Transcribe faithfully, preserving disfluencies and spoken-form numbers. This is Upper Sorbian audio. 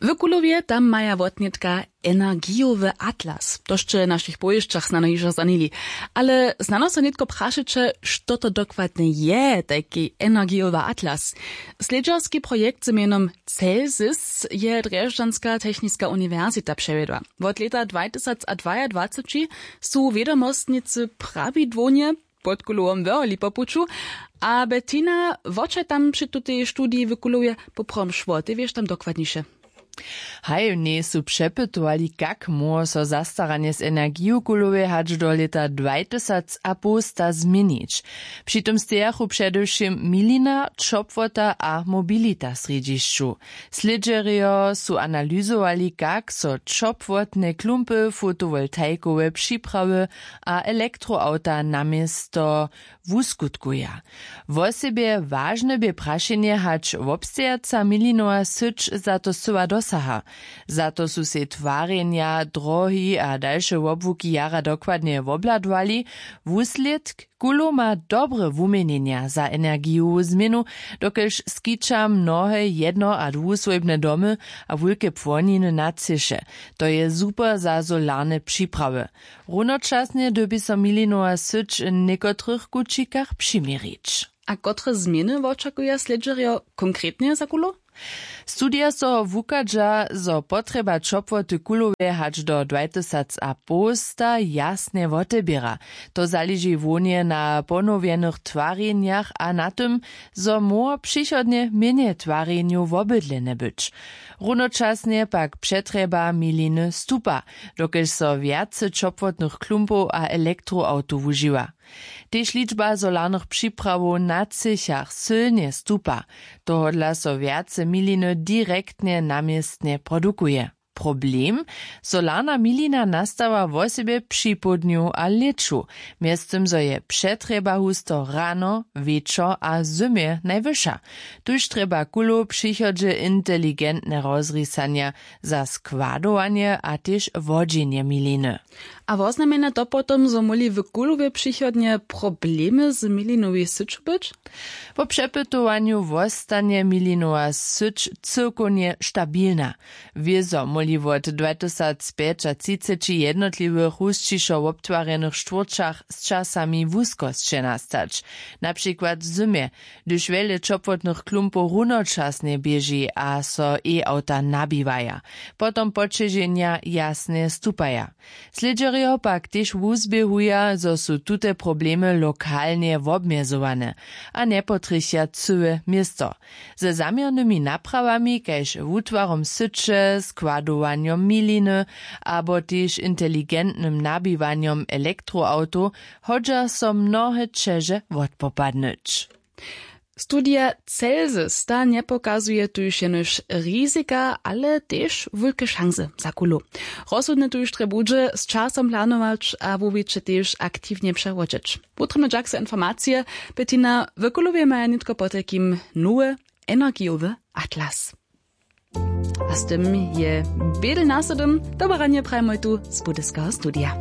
W Kulowje tam maja wotnětka energijowy atlas, to sće w našich powěsćach snano hižo zanili. Ale snano so nětko prašeće, što to dokładnje je tajki energijowy atlas? Slědźerski projekt z mjenom Celsis je drježdźanska techniska uniwersita přewjedła. Wot lěta dwatysacadwaadwaceći su wědomostnicy prawidłownje pod Kulowom wyrholi po puću. A Bettina, wo će tam při tutej studiji w Kulowje poprawom šło, ty wěš tam dokładniše? Haj, mnje su přepytowali, kak móhło so zastaranje z energiju w Kulowje hač do lěta dwatysacapowsta změnić. Při tym stejachu předewšěm milina, ćopłota a mobilita w srjedźišću. Slědźerjo su analyzowali, kak so ćopłotne klumpy, fotowoltajkowe připrawy a elektroawta na město wuskutkuja. Wosebje wažne bě prašenje, hač wobstejaca milinowa syć za to scyła dosaha. Za to su sej twarjenja, drohi a dalše wobłuki jara dokładnje wobhladowali. Wuslědk: Kulow ma dobre wuměnjenja za energijowu změnu, dokelž skića mnohe jedno a dwuswójbne domy a wulke płoniny na třěše. To je super za solarne připrawy. Runočasnje dyrbi so milinowa syć w někotrych kućikach přiměrić. A kotre změny wočakuja slědźerjo konkretnje za Kulow? Studija so wuchadźa, zo potrjeba ćopłoty w Kulowje hač do dwatysacapowsta jasnje woteběra. To zaleži hłownje na ponowjenych twarjenjach a na tym, zo móhło přichodnje mjenje twarjenjow wobydlene być. Runočasnje pak přetrjeba miliny stupa, dokelž so wjace ćopłotnych klumpow a elektroawtow wužiwa. Tež ličba solarnych připrawow na třěchach sylnje stupa. Tohodla so wjace miliny direktnje na městnje produkuje. Problem: solarna milina nastawa wosebje při połdnju a lěću, mjeztym zo je přetrjeba husto rano, wječor a zymje najwyša. Tuž trjeba Kulow w přichodźe inteligentne rozrisanja za składowanje a tež wodźenje miliny. A woznamjenja to potom, zo móhli w Kulowje přichodnje problemy z milinowej syću być? Po přepytowanju wostanje milinowa syć cyłkownje stabilna. Wězo móhli wot dwatysacpjećatřiceći w jednotliwych husćišo wobtwarjenych štwórćach z časami wuskosće nastać, na přikład w zymje, hdyž wjele ćopłotnych klumpow runočasnje běži a so e-awta nabiwaja. Potom poćeženja jasnje stupaja. Slědźerjo pak tež wuzběhuja, zo su tute problemy lokalnje wobmjezowane a njepotrjechja cyłe město. Ze zaměrnymi naprawami kaž wutwarom syće, składowanjom miliny abo tež inteligentnym nabiwanjom elektroawtow hodźa so mnohe ćeže wotpopadnyć. Studija Celsis ta njepokazuje tuž jenož rizika, ale tež wulke šansy za Kulow. Rozsudne tuž drje budźe z časom planować a wuwiće tež aktiwnje přewodźeć. Wutrobny dźak za informacije. Bettina, w Kulowje maja nětko potajkim nowy energijowy atlas. A z tym je bědel na sydom. Dobre ranje prajmoj tu z budyskeho studija.